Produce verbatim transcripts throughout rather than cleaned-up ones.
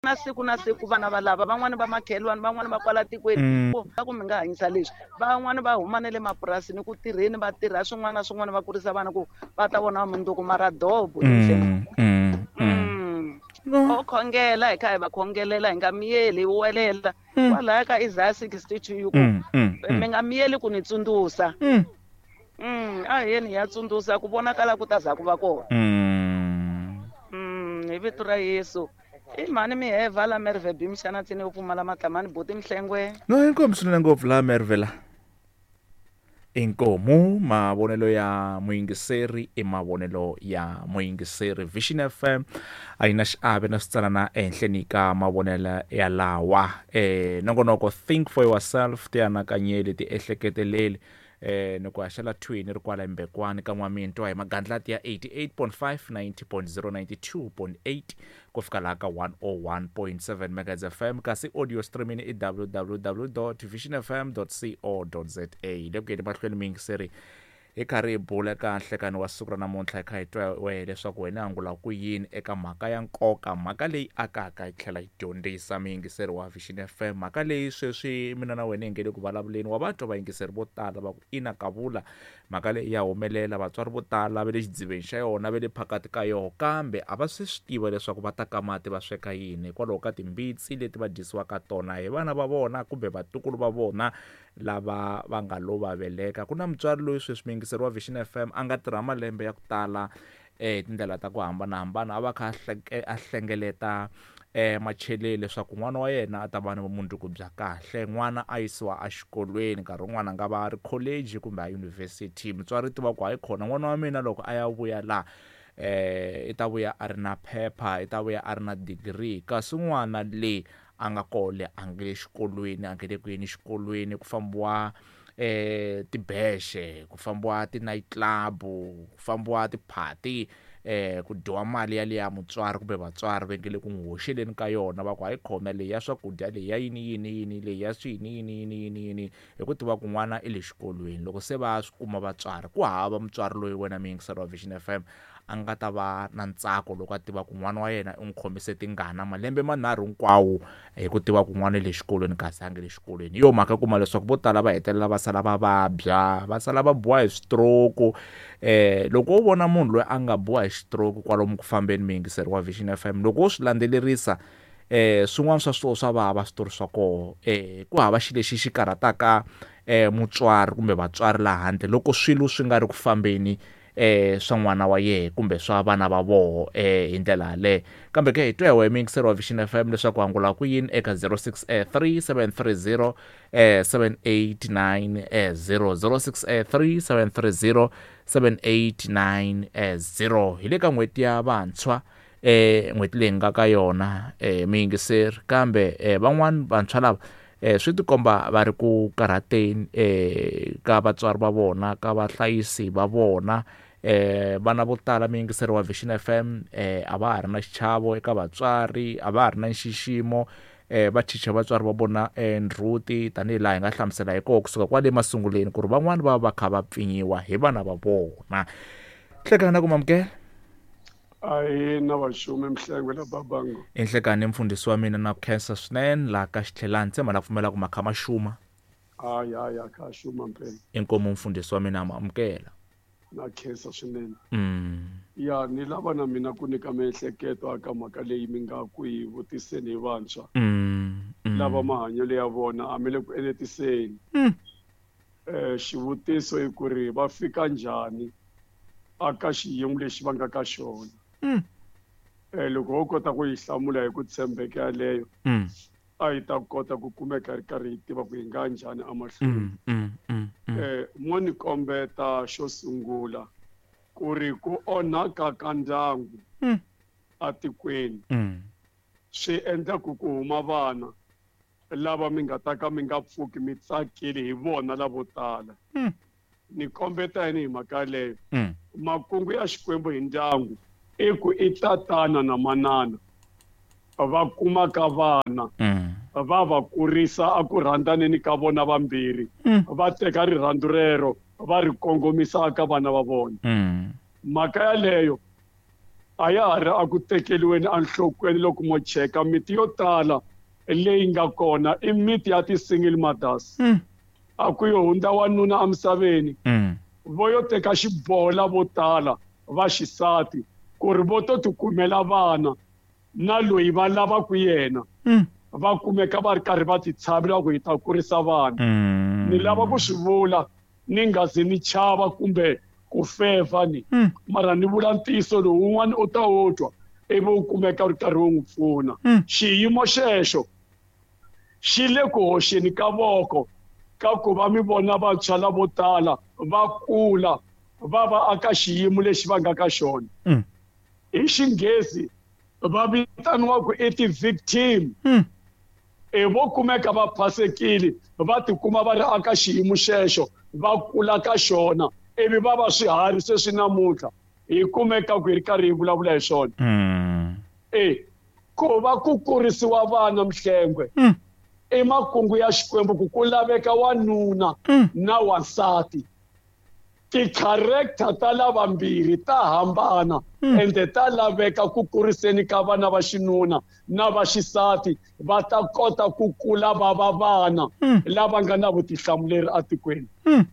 Na siku na siku vana va lava van'wani va makhelwani van'wani va kwala tikweni Mm. ku ku mi nga hanyisa leswi van'wani va huma na le mapurasini ku tirheni va tirha swin'wana na swin'wana va kurisa vana ku va ta vona mundzuku mara dobo Mm. Mm. Mm. Mm. No. O khongela hi kha hi va khongelela hi nga miyeli hi welela Mm. kwalaya ka Isaiah sixty-two yi ku Mm. Mm. mi nga miyeli ku ni tsundzuxa Mm. Mm, a hi yeni hi ya tsundzuxa ku vonakala ku ta za ku va kona Mm. Mm, hi vito ra Yesu i mhani miheva la Merve B mxana tsini yo pfumala matlamani buti Mhlengwe No inkomu swinene ngopfu laha Merve la. Inkomu mavonelo ya muyingiseri i mavonelo ya muyingiseri Vision F M a yi na xiave na switsalana ehenhleni ka mavonelo ya lawa eh nongonoko think for yourself ti anakanyeli ti ehleketeleli eh ni ku haxela thwini ri kwala Mbekwani ka N'wamintwa hi magandlati ya eighty-eight point five, ninety point zero, ninety-two point eight ku fika laha ka one oh one point seven megahertz F M kasi audio streaming i w w w dot vision f m dot co dot z a le ku yeni mahlweni muyingiseri hi karhi hi bula eka nhlekani wa siku ra namuntlha hi kha hi twa wehe leswaku wena angula ku yini eka mhaka ya nkoka mhaka leyi akaka yi tlhela yi dyondzisa muyingiseri wa Vision F M mhaka leyi sweswi mina na wena hi nge le ku vulavuleni wa va twa vayingiseri vo tala va ku ina kavula mhaka leyi ya humelela vatswari vo tala va le xidziveni xa yona va le phakati ka yona kambe a va swi swi tiva leswaku va ta ka mati va sweka yini hikwalaho ka timbitsi leti va dyisiwaka tona hi vana va vona kumbe vatukulu va vona lava va nga lo va veleka ku na mutswari loyi sweswi muyingiseri wa Vision F M a nga tirha malembe ya ku tala eh tindlela ta ku hambanahambana a va kha a hleke-, a hlengeleta eh macheleni leswaku n'wana wa yena a ta va ni vumundzuku bya kahle n'wana a yisiwa exikolweni nkarhi wun'wana a nga va a ri college kumbe a university mutswari tiva ku hayi khona n'wana wa mina loko a ya vuya laha eh i ta vuya a ri na phepha i ta vuya a ri na degree kasi n'wana le a nga kole a nge le xikolweni a nge le ku yeni xikolweni ku fambiwa eh tibexe ku fambiwa ti-night club ku fambiwa ti-party eh ku dyiwa mali ya liya mutswari kumbe vatswari va nge le ku n'wi hoxeleni ka yona va ku hayi khona leyi ya swakudya leyi ya yini yini yini leyi ya swini yini yini yini yini hi ku tiva ku n'wana i le xikolweni loko se va swi kuma vatswari ku hava mutswari loyi wena muyingiseri wa Vision F M a nga ta va na ntsako loko a tiva ku n'wana wa yena u n'wi khomise tingana malembe manharhu hinkwawo hi ku tiva ku n'wana le xikolweni kasi a nge le xikolweni hi yo mhaka kuma leswaku vo tala va hetelela va sala va vabya va sala va biwa hi stroke eh loko wo vona munhu loyi a nga biwa hi stroke kwalomu ku fambeni muyingiseri wa Vision F M loko wo swi landzelerisa eh swin'wana swa swona swa vava switori swa koho eh ku hava xilo lexi xi karhataka eh mutswari kumbe vatswari laha handle loko swilo swi nga ri ku fambeni eh swa n'wana wa yena kumbe swa vana va voho eh hi ndlela yaleyo kambe ke hi twa hi wena muyingiseri wa Vision F M leswaku angula ku yini eka zero six three seven three zero seven eight nine zero zero six three seven three zero seven eight nine zero hi le ka n'hweti ya vantshwa eh n'hweti leyi nga ka yona eh muyingiseri kambe eh van'wani vantshwa lava eh swi tikomba va ri ku karhateni eh ka vatswari va vona ka vahlayisi va vona eh vana vo tala muyingiseri wa Vision F M eh a va ha ri na xichavo eka vatswari a va ha ri na nxiximo eh va chicha vatswari va vona ndzhuti tanihi laha hi nga hlamusela hi kona kusuka kwale masunguleni ku ri van'wani va va kha va pfinyiwa hi vana va vona hlekana na ku mamukela Ahi na vaxumi Mhlengwe na Babango enhlekani mfundhisi wa mina na ku khensa swinene laha ka xitlhelani tshemba na pfumela ku makha ma xuma hayi hayi a kha xuma mpela inkomu mfundhisi wa mina ma amukela na khensa swinene mm ya ni lava na mina ku nyika miehleketo aka mhaka leyi mi nga ku yi vutiseni hi vantshwa mm lava mahanyelo ya vona a mi le ku enetiseni mm eh xivutiso i ku ri va fika njhani aka xiyimo lexi va nga ka xona mm eh loko wo kota ku yi hlamula hi ku tshembeka yaleyo mm a yi ta kota ku kumeka ri karhi yi tiva ku yi nga njhani emahlweni mm mm mm eh mo ni kombeta xo sungula ku ri ku onhaka ka ndyangu mm atikweni mm swi endla ku ku huma vana lava mi nga ta ka mi nga pfuki mi tsakile hi vona lavo tala mm ni kombeta yini hi mhaka yaleyo mm makungu ya Xikwembu hi ndyangu i ku i tatana na manana va kumaka vana mm va va kurisa a ku rhandzaneni ka vona vambirhi mm va teka rirhandzu rero va ri kongomisa ka vana va vona mm mhaka yaleyo A ya ha ri a ku tekeriweni enhlokweni loko mo cheka miti yo tala leyi nga kona i miti ya ti-single mothers. Mm. A ku yo hundza wanuna emisaveni. Mm. Vo yo teka xiboho lavo tala va xisati ku ri vo to tikumela vana na loyi va lavaka yena. Mm. Va kumeka va ri karhi va titshavela ku hi ta kurisa vana. Mm. Ni lava ku swi vula ni nga zi ni chava kumbe ku feva ni. Mm. Mara ni vula ntiyiso lowu wun'wana u ta wu twa ivi u kumeka u ri karhi wu n'wi pfuna. Mm. Xiyimo xexo xi le ku hoxeni ka voko ka ku va mi vona vantshwa lavo tala va kula va va aka xiyimo lexi va nga ka xona. Mm. Hi xinghezi va vitaniwa ku i ti-victim. Mm. E vo kumeka va phasekile va tikuma va ri aka xiyimo xexo va kula ka xona ivi va va swiharhi sweswi namuntlha hi kumeka ku hi ri karhi hi vulavula hi swona. Mm. E ku va ku kurisiwa vana Mhlengwe Mm. i makungu ya Xikwembu ku ku laveka wanuna Mm. na wansati. Ti-character ta lavambirhi ta hambana Mm. ende ta laveka ku kuriseni ka vana va xinuna na va xisati va ta kota ku kula va va vana Mm. lava nga na vutihlamuleri etikweni. Mm.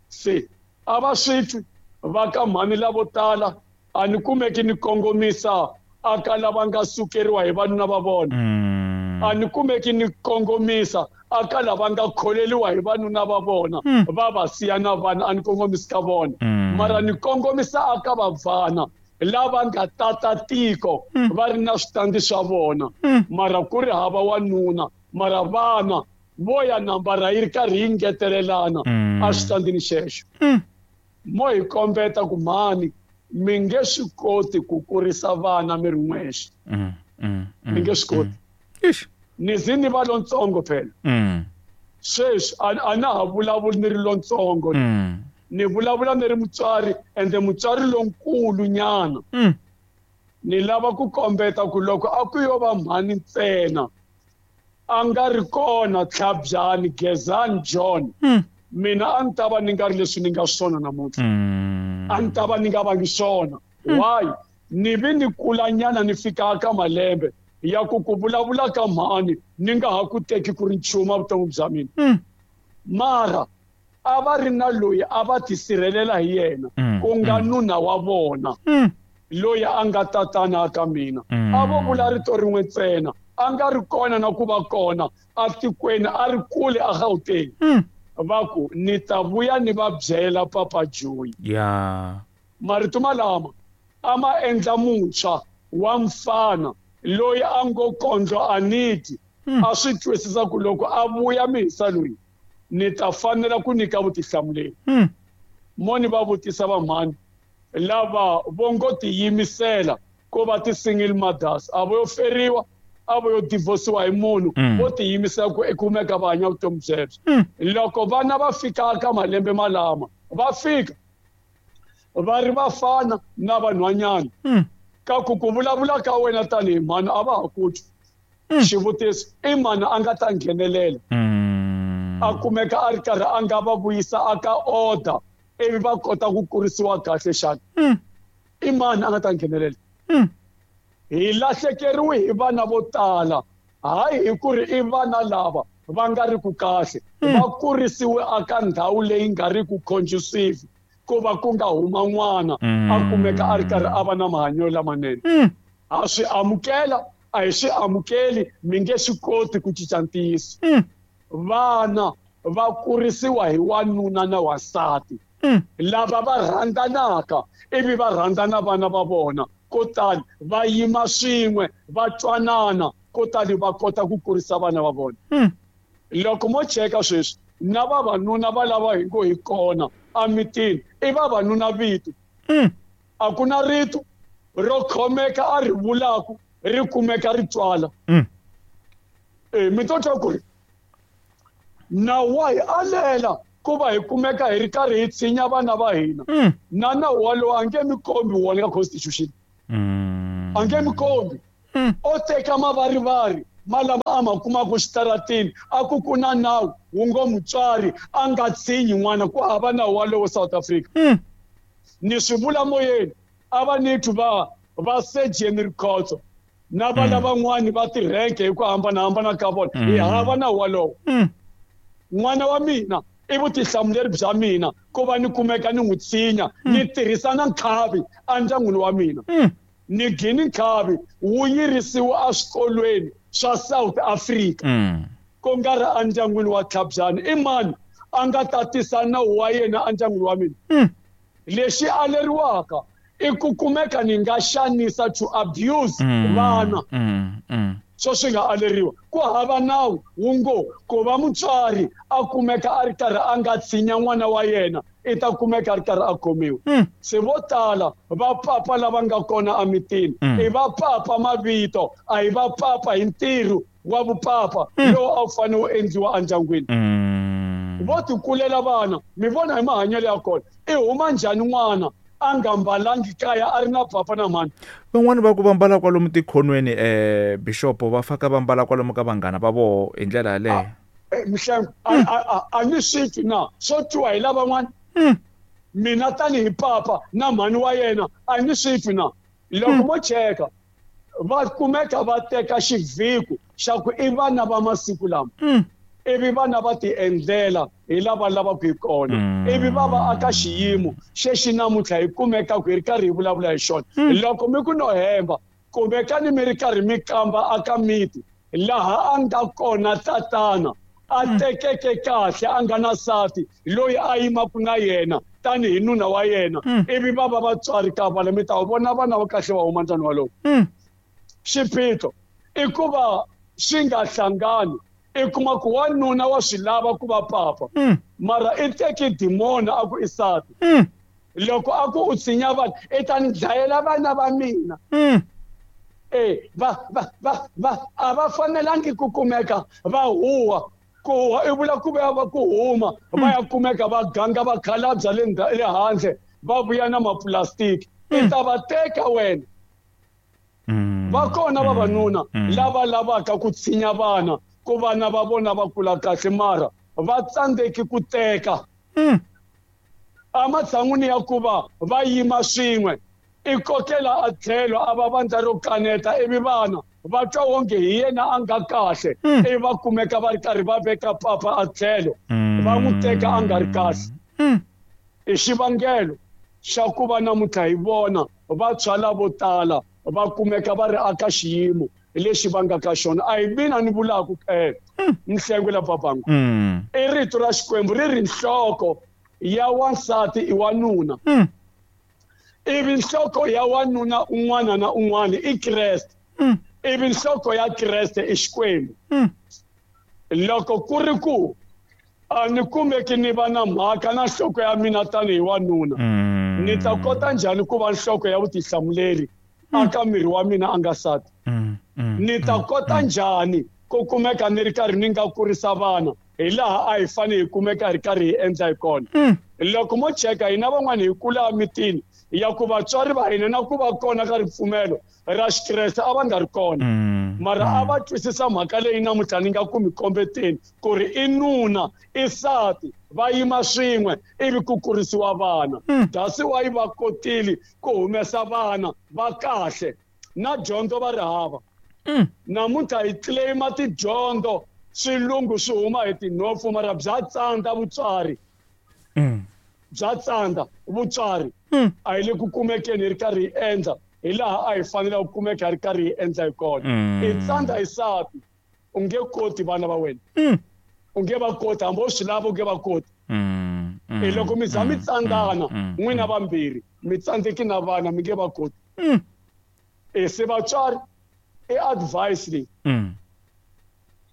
Se a va swi twi va ka mhani lavo tala a ni kumeki ni kongomisa aka lava nga sukeriwa hi vanuna va vona. Mm. A ni kumeki ni kongomisa aka lava nga kholeliwa hi vanuna va vona Mm. va va siya na vana a ni kongomisi ka vona. Mm. Mara ni kongomisa aka vabvana lava nga tata tiko Mm. va ri na switandi swa vona. Mm. Mara ku ri hava wanuna mara vana vo ya nambara yi ri karhi yi ngetelelana Mm. a switandini xexo. Mm. Mo hi kombeta ku mhani mi nge swi koti ku kurisa vana mi ri n'wexe. Mm. Mm. Mm. Mi nge swi koti. Eish. Ni zi ni va lontsongo phela. Mm. Sweswi a a na ha vulavuli ni ri lontsongo. Mm. Ni vulavula ni ri mutswari ende mutswari lonkulu nyana. Mm. Ni lava ku kombeta ku loko a ku yo va mhani ntsena a nga ri kona Tlhabyani Gezani John. Mm. Mina a ni ta va ni nga ri leswi ni nga swona namuntlha. Mm. A ni ta va ni nga vangi swona. Why? Ni vi ni kulanyana ni fika ka malembe ya ku ku vulavula ka mhani ni nga ha ku teki ku ri nchumu evuton'wini bya mina. Mm. Mara a va ri na loyi a va tisirhelela hi yena Mm, ku nga mm. nuna wa vona Mm. loyi a nga tatana ka mina. Mm. A vo vula rito rin'we ntsena a nga ri kona na ku va kona atikweni a ri kule a Gauteng. Mm. Va ku ni ta vuya ni va byela Papa Joyi. Yeah. Marito malama a ma endla muntshwa wa mfana loyi a ngo kondlo aniti Mm. a swi twisisa ku loko a vuya mihisa loyi ni ta fanela ku nyika vutihlamuleri. Mm. Mo ni va vutisa vamhani lava vo ngo tiyimisela ku va ti-single mothers a vo yo feriwa a vo yo divorciwa hi munhu Mm. vo tiyimisela ku kumeka va hanya vutomi byebyo. Mm. Loko vana va fika ka malembe malama va fika va ri vafana na vanhwanyana. Mm. Ka ku ku vulavula ka wena tanihi mhani a va ha ku twi. Mm. Xivutiso i mhani a nga ta nghenelela. Mm. A kumeka a ri karhi a nga va vuyisa aka order ivi va kota ku kurisiwa kahle xana. Mm. I mani a nga ta nghenelela. Mm. Hi lahlekeriwe hi vana vo tala hayi hi ku ri i vana lava va nga ri ku kahle. Mm. Va kurisiwe aka ndhawu leyi nga ri ku conducive ku va ku nga huma n'wana Mm. a kumeka a ri karhi a va na mahanyelo lamanene. Mm. Ha swi amukela a hi swi amukeli mi nge swi koti ku cinca ntiyiso. Mm. Vana va kurisiwa hi wanuna na wansati. Mm. Lava va rhandzanaka ivi va rhandzana vana va vona kutani va yima swin'we va twanana kutani va kota ku kurisa vana va vona. Mm. Loko mo cheka sweswi na vavanuna va lava hi ngo hi kona emitini i vavanuna vito. Mm. A ku na rito ro khomeka a ri vulaku ri kumeka ri twala. Mm. E mi to twa ku ri nawu wa hi alela ku va hi kumeka hi ri karhi hi tshinya vana va hina. Mm. Na nawu walowo a nge mi kombi wona ka constitution. Mm. A nge mi kombi. Mm. O teka mavarivari ma lama a ma kumaka xitaratini a ku ku na nawu wu ngo mutswari a nga tshinyi n'wana ku hava nawu walowo South Africa. Mm. Ni swi vula moyeni a va ni twi va Va Surgeon Rikhotso na vana van'wani va tirhenke hi ku hambanahambana ka vona hi hava nawu walowo. N'wana wa mina i vutihlamuleri bya mina ku va ni kumeka ni n'wi tshinya ni tirhisa na nkhavi endyangwini wa mina. Ni gini nkhavi wu yirisiwa eswikolweni swa South Africa ku nga ri endyangwini wa Tlhabyana. I mani a nga ta tisa nawu wa yena endyangwini wa mina? Lexi aleriwaka i ku kumeka ni nga xanisa to abuse vana. So swi nga aleriwa ku hava nawu wu ngo ku va mutswari a kumeka a ri karhi a nga tshinya n'wana wa yena i ta kumeka a ri karhi a khomiwa. Se vo tala va papa lava nga kona emitini i va papa mavito, a hi va papa hi ntirho wa vupapa lowu a wu fanele wu endliwa endyangwini. Vo tikulela vana mi vona hi mahanyelo ya kona i huma njhani n'wana a nga mbalangi kaya a ri na papa na mhani. Van'wani va ku va mbala kwalomu tikhonweni eh bishop va faka va mbala kwalomu ka vanghana va voho hi ndlela yaleyo. Mihlengo a ni swi twi na swo twiwa hi lavan'wana. Mina tanihi papa na mhani wa yena a ni swi twi na. Loko mo cheka va kumeka va teka xivhiko xa ku i vana va masiku lama ivi vana va ti endlela hi lava lavaka hi kona ivi va va aka xiyimo xexi namuntlha hi kumeka ku hi ri karhi hi vulavula hi xona. Loko mi ku no hemba kumekani mi ri karhi mi kamba aka miti laha a nga kona tatana a tekeke kahle a nga na nsati loyi a yimaka na yena tanihi nuna wa yena ivi va va vatswari ka vana mi ta vona vana va kahle va huma ndzani walowo. Xiphiqo i ku va swi nga hlangani. I kuma ku wanuna wa swi lava ku va papa mara i teki dimona a ku i nsati. Loko a ku u tshinya vanhu i ta ni dlayela vana va mina. E va va va va a va fanelangi ku kumeka va huwa ku huwa i vula ku va ku huma va ya kumeka va ganga va khalabya le le handle va vuya na maplastiki i ta va teka wena. Va kona vavanuna lava lavaka ku tshinya vana ku vana va vona va kula kahle mara va tsandzeki ku teka. Ematshan'wini ya ku va va yima swin'we i kokela a tlhelo a va vandla ro kaneta ivi vana va twa wonge hi yena a nga kahle ivi va kumeka va ri karhi va veka papa a tlhelo va n'wi teka a nga ri kahle. I xivangelo xa ku va namuntlha hi vona vantshwa lavo tala va kumeka va ri aka xiyimo lexi va nga ka xona. A hi mina ni vulaka eh Mhlengo la Babangu. I rito ra Xikwembu ri ri nhloko ya wansati i wanuna. Ivi nhloko ya wanuna un'wana na un'wana i Kreste. Ivi nhloko ya Kreste i Xikwembu. Loko ku ri ku a ni kumeki ni va na mhaka na nhloko ya mina tanihi wanuna ni ta kota njhani ku va nhloko ya vutihlamuleri aka miri wa mina a nga nsati? Ni ta kota njhani ku kumeka ni ri karhi ni nga kurisa vana hi laha a hi fanele hi kumeka hi ri karhi hi endla hi kona? Loko mo cheka hina van'wani hi kula emitini ya ku vatswari va hina na ku va kona ka ripfumelo ra Xikreste a va nga ri kona mara a va twisisa mhaka leyi namuntlha ni nga ku mi kombeteni ku ri i nuna i nsati va yima swin'we ivi ku kurisiwa vana. That's why va kotile ku humesa vana va kahle na dyondzo va ri hava. Namuntlha hi claima tidyondzo swilungu swi huma hi tinhompfu mara bya tsandza vutswari. Bya tsandza vutswari a hi le ku kumekeni hi ri karhi hi endla hi laha a hi fanele ku kumeka hi ri karhi hi endla hi kona. I tsandza hi nsati u nge koti vana va wena. U nge va koti hambi u swi lava u nge va koti. I loko mi za mi tsandzana n'wina vambirhi mi tsandzeki na vana mi nge va koti. E se vatswari i advice leyi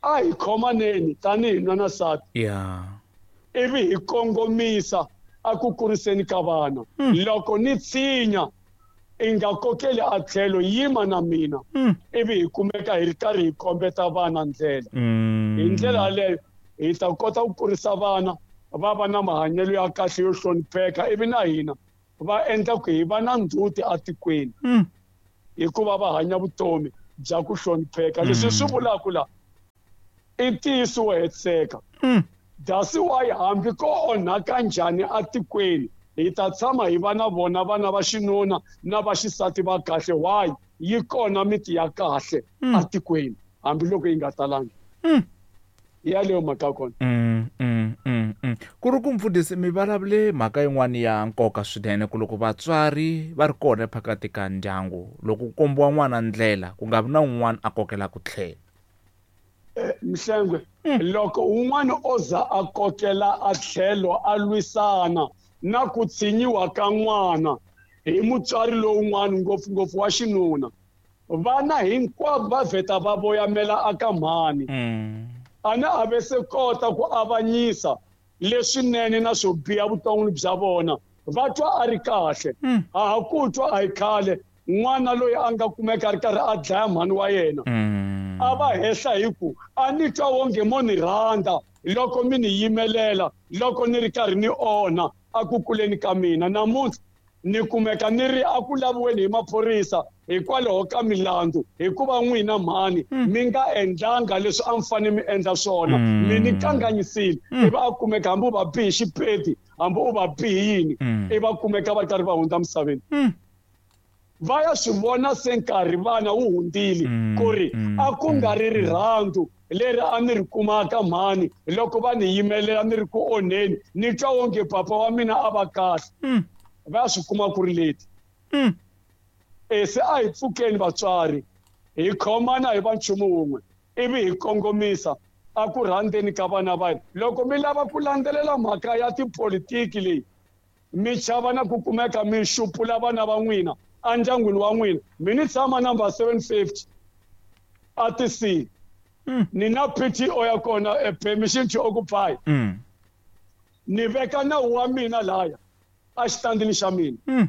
a hi khomaneni tanihi nuna na nsati ivi hi kongomisa a ku kuriseni ka vana. Loko ni tshinya i nga kokeli a tlhelo yima na mina ivi hi kumeka hi ri karhi hi kombeta vana ndlela. Hi ndlela yaleyo hi ta kota ku kurisa vana va va na mahanyelo ya kahle yo hlonipheka ivi na hina va endla ku hi va na ndzhuti etikweni hikuva va hanya vutomi bya ku hlonipheka. Leswi swi vulaka la i ntiyiso wo hetiseka. That's why hambi ko onhaka njhani etikweni Hi ta tshama hi va na vona vana va xinuna na va xisati va kahle. Why? Yi kona miti ya kahle atikweni hambiloko yi nga talangi. Yaleyo mhaka kona. Mm, mm, mm, mm. Ku ri ku mfundhisi mi vulavule mhaka yin'wana ya nkoka swinene ku loko vatswari va ri kona phakati ka ndyangu loko ku kombiwa n'wana ndlela ku nga vi na un'wana a kokelaka tlhelo. Mhlengwe, loko un'wana o za a kokela a tlhelo a lwisana na ku tshinyiwa ka n'wana hi mutswari lowun'wana ngopfungopfu wa xinuna, vana hinkwavo va vheta va voyamela aka mhani. Ana a ve se kota ku avanyisa leswinene na swo biha vuton'wini bya vona, va twa a ri kahle. A ha ku twa a hi khale n'wana loyi a nga kumeka a ri karhi a dlaya mhani wa yena, a va hehla hi ku a ni twa wonge mo ni rhandza loko mi ni yimelela loko ni ri karhi ni onha a ku kuleni ka mina. Namuntlha ni kumeka ni ri a ku laviweni hi maphorisa hikwalaho ka milandzu, hikuva n'wina mhani mi nga endlanga leswi a mi fanele mi endla swona, mi ni kanganyisile. Ivi a kumeka hambi u va bihi xipedi hambi u va bihi yini, ivi va kumeka va karhi va hundza misaveni. Va ya swi vona se nkarhi vana wu hundzile ku ri a ku nga ri rirhandzu leri a ni ri kumaka mhani loko va ni yimelela ni ri ku onheni, ni twa wonge papa wa mina a va kahle. Va swi kuma ku ri leti. E se a hi pfukeni vatswari, hi khomana hi va nchumu wun'we, ivi hi kongomisa a ku rhandzeni ka vana va hina. Loko mi lava ku landzelela mhaka ya tipolitiki leyi, mi chava na ku kumeka mi xupula vana va n'wina endyangwini wa n'wina. Mi ni tshama number seven fifty a T C. Ni na P T O ya kona, a permission to occupy. Ni veka nawu wa mina laya a xitandini xa mina.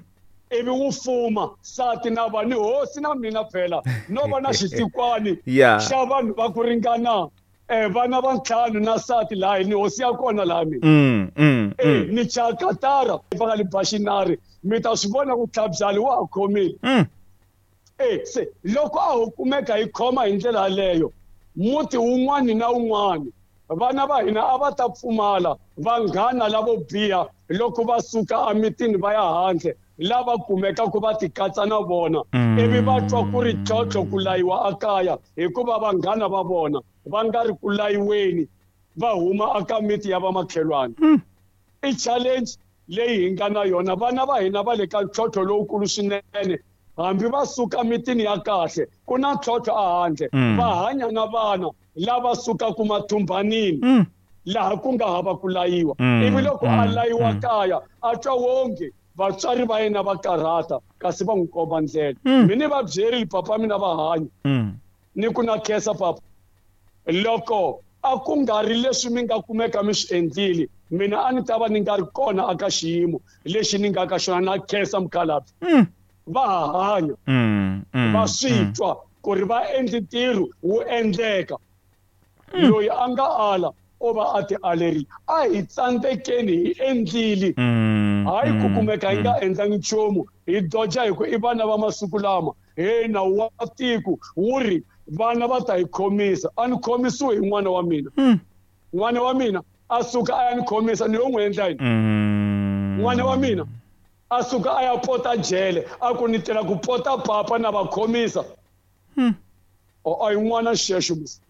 Ivi wu fuma sati na va ni hosi na mina phela no va na xitikwani xa vanhu va ku ringana eh vana va ntlhanu na sati laha ni hosi ya kona laha mina. Eh ni chakatara va nga li baxinari mi ta swi vona ku tlhabyali wa ha khomile. Eh se loko a ho kumeka hi khoma hi ndlela yaleyo, muti wun'wani na wun'wani vana va hina a va ta pfumala vanghana lavo biha loko va suka emitini va ya handle, lava kumekaka va tikatsa na vona, ivi va twa ku ri tlhontlho ku layiwa ekaya hikuva vanghana va vona va nga ri ku layiweni va huma eka miti ya vamakhelwani. I challenge leyi hi nga na yona. Vana va hina va le ka ntlhontlho lowukulu swinene, hambi va suka mitini ya kahle ku na ntlhontlho ehandle. Va hanya na vana lava sukaka mathumbanini laha ku nga hava ku layiwa, ivi loko a layiwa kaya a twa wonge vatswari va yena va karhata kasi va n'wi komba ndlela. Mi ni va byerile papa mina va hanya, ni ku na khensa papa, loko a ku nga ri leswi mi nga kumeka mi swi endlile, mina a ni ta va ni nga ri kona aka xiyimo lexi ni nga ka xona. Na khensa mukhalabye. Va ha hanya, va swi twa ku ri va endli ntirho wu endleka. Loyi a nga ala o va a ti alerile. A hi tsandzekeni hi endlile, hayi ku kumeka hi nga endlangi nchumu, hi doja hi ku i vana va masiku lama. He nawu wa tiko wu ri vana va ta hi khomisa. A ni khomisiwe hi n'wana wa mina. N'wana wa mina a suka a ya ni khomisa, ni yo n'wi endla yini? N'wana wa mina a suka a ya pota jele, a ku ni tela ku pota papa na va khomisa. O a hi n'wana xexo musi.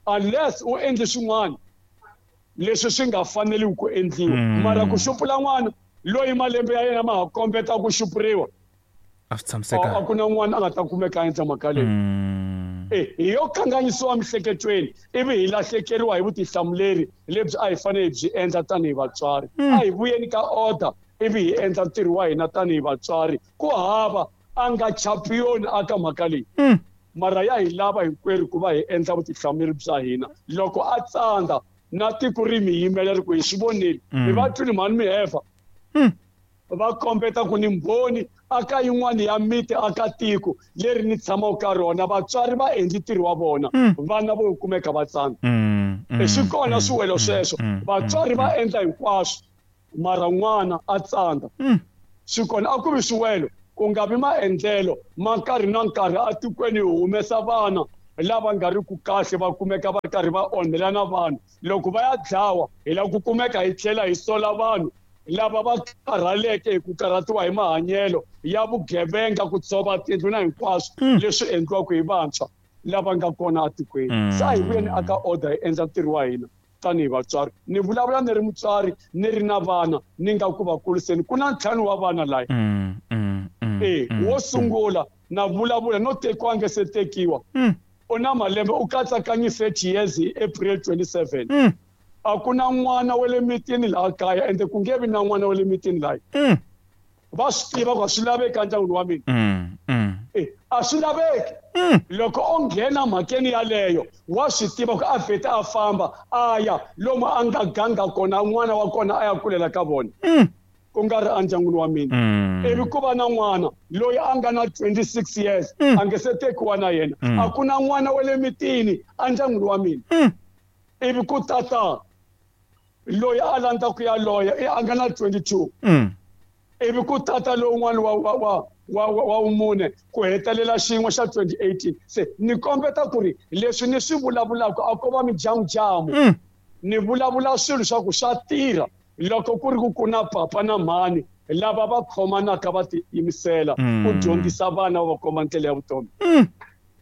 Unless u endle swin'wana leswi swi nga faneliwi ku endliwa. Mara ku xupula n'wana loyi malembe ya yena ma ha kombeta ku xupuriwa, a swi tshamisekanga. A ku na n'wana a nga ta kumeka a endla mhaka leyi. Eh hi yo kanganyisiwa miehleketweni ivi hi lahlekeriwa hi vutihlamuleri lebyi a hi fanele hi byi endla tanihi vatswari. A hi vuyeni ka order ivi hi endla ntirho wa hina tanihi vatswari. Ku hava a nga champion aka mhaka leyi. Mara ya hi lava hinkwerhu ku va hi endla vutihlamuleri bya hina. Loko a tsandza na tiko ri mi yimela ri ku hi swi vonile, mi va twile mhani mi hefa. Va kombeta ku ni mbhoni aka yin'wana ya miti aka tiko leri ni tshamaka ka rona, vatswari va endli ntirho wa vona, vana vo kumeka va tsandza. Swi kona swiwelo sweswo, vatswari va endla hinkwaswo mara n'wana a tsandza. Swi kona a ku vi swiwelo, ku nga vi maendlelo ma nkarhi na nkarhi atikweni hi humesa vana lava nga ri ku kahle, va kumeka va karhi va onhela na vanhu. Loko va ya dlawa hi lava ku kumeka hi tlhela hi sola vanhu Lava va karhaleke hi ku karhatiwa hi mahanyelo ya vugevenga, ku tshova tindlu na hinkwaswo leswi endliwaka hi vantshwa lava nga kona etikweni. Se a hi vuyeni aka order hi endla ntirho wa hina tanihi vatswari. Ni vulavula ni ri mutswari, ni ri na vana, ni nga ku va kuriseni. Ku na ntlhanu wa vana laya. E wo sungula na vulavula no tekiwa a nge se tekiwa. U na malembe u katsakanyi thirty years hi April twenty-seven. A ku na n'wana wa le mitini laha kaya, ende ku nge vi na n'wana wa le mitini laha. Va swi tiva ku a swi laveki endyangwini wa mina. E a swi laveki. Loko o nghena mhakeni yaleyo, wa swi tiva ku a vheta a famba a ya lomu a nga ganga kona, n'wana wa kona a ya kulela ka vona. Ku nga ri endyangwini wa mina. Ivi ku va na n'wana loyi a nga na twenty-six years, a nge se tekiwa na yena. A ku na n'wana wa le mitini endyangwini wa mina. Ivi ku tata loyi a landza ku ya loya, a nga na twenty-two. Ivi ku tata lowun'wana wa wa wa wa wa wumune ku hetelela xin'we xa twenty eighteen. Se ni kombeta ku ri leswi ni swi vulavulaka a ko va mijamujamu. Ni vulavula swilo swa ku swa tirha loko ku ri ku ku na papa na mhani lava va khomanaka va tiyimisela ku dyondzisa vana va komba ndlela ya vutomi.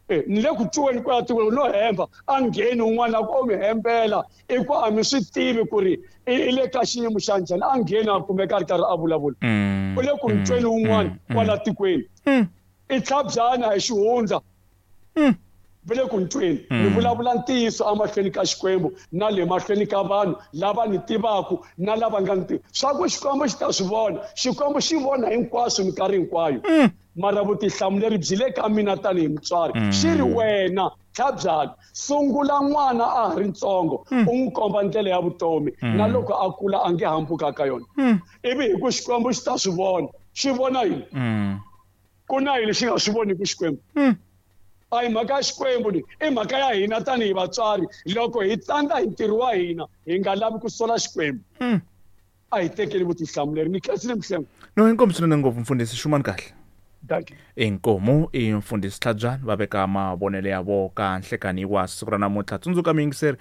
E ni le ku tweni ku ya tikweni no hemba a ngheni un'wana a ku o mi hembela i ku a mi swi tivi ku ri i le ka xiyimo xa njhani, a ngheni a kumeka a ri karhi a vulavula. U le ku ntweni un'wana kwala tikweni. I tlhabyana hi xihundla. Va le ku ntweni. Ni vulavula ntiyiso emahlweni ka Xikwembu na le mahlweni ka vanhu lava ni tivaka na lava nga ni tivi. Swa ku Xikwembu xi ta swi vona. Xikwembu xi vona hinkwaswo minkarhi hinkwayo. Mara vutihlamuleri byi le ka mina tanihi mutswari. Xi ri wena tlhabyana, sungula n'wana a ha ri ntsongo, u n'wi komba ndlela ya vutomi, na loko a kula a nge hambuka ka yona. Ivi hi ku Xikwembu xi ta swi vona. Xi vona yini? Ku na yini xi nga swi voniki Xikwembu? A hi mhaka ya Xikwembu leyi, i mhaka ya hina tanihi vatswari. Loko hi tsandza hi ntirho wa hina, hi nga lavi ku sola Xikwembu. A hi tekeli vutihlamuleri. Ni khensile Mhlengwe. No, inkomu swinene ngopfu mfundhisi, xumani kahle. Dankie. Inkomu i mfundhisi Tlhabyana va veka mavonelo ya vo ka nhlekani wa siku ra namuntlha. Tsundzuka muyingiseri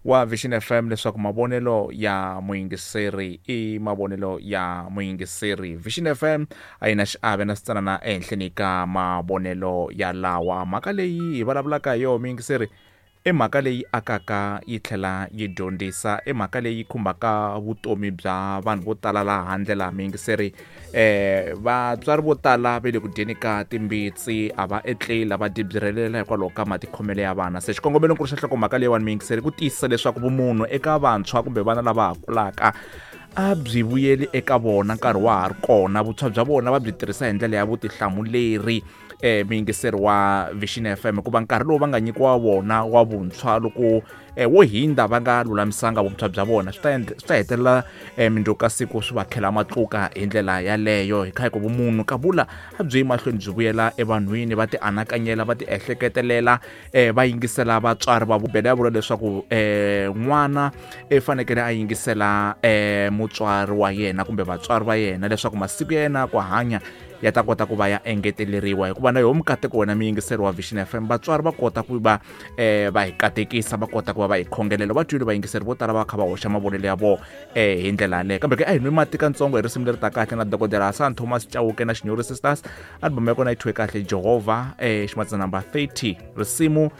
wa Vision F M leswaku mavonelo ya muyingiseri i mavonelo ya muyingiseri. Vision F M a yi na xiave na switsanana ehenhleni ka mavonelo ya lawa. Mhaka leyi hi vulavulaka hi yona muyingiseri i mhaka leyi akaka yi tlhela yi dyondzisa, i mhaka leyi khumbaka vutomi bya vanhu vo tala laha handle laha muyingiseri. Eh vatswari vo tala va le ku dyeni ka timbitsi, a va etleli, va dibyirelela hikwalaho ka matikhomelo ya vana. Se xikongomelonkulu xa nhlokomhaka leyiwani muyingiseri ku tiyisisa leswaku vumunhu eka vantshwa kumbe vana lava ha kulaka a byi vuyeli eka vona nkarhi wa ha ri kona. Vuntshwa bya vona va byi tirhisa hi ndlela ya vutihlamuleri eh muyingiseri wa Vision F M, hikuva nkarhi lowu va nga nyikiwa wona wa vuntshwa loko eh, wo hindza va nga lulamisanga vuntshwa bya vona, swi ta swi ta hetelela eh, mindzuku ka siku swi va khela matluka hi ndlela yaleyo. Hi kha hi ku vumunhu ka vula a byi mahlweni byi vuyela evanhwini, va ti anakanyela, va ti ehleketelela, eh, va yingisela vatswari va Bibele ya vula leswaku eh, n'wana e fanekele a yingisela eh, mutswari wa yena kumbe vatswari va yena leswaku masiku ya yena ku hanya ya ta kota ku va ya engeteleriwa. Hikuva na yo mikateko wena muyingiseri wa Vision F M, vatswari va kota ku va eh, va hi katekisa, va kota ku va va hi khongelela. Va twile vayingiseri vo tala va kha va hoxa mavonelo ya vona eh, hi ndlela yaleyo. Kambe ke a hi nwi mati katsongo hi risimu leri ta kahle na dokodela Hassan Thomas Chauke na Shinyori Sisters. Album ya kona yi thyiwe kahle Jehovah, eh, ximatsa number thirty, risimu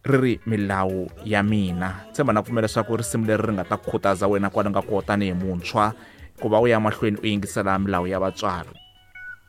ri ri milawu ya mina. Tshemba na pfumela leswaku risimu leri ri nga ta khutaza wena kwala nga kona tanihi muntshwa ku va u ya mahlweni u yingisela milawu ya vatswari.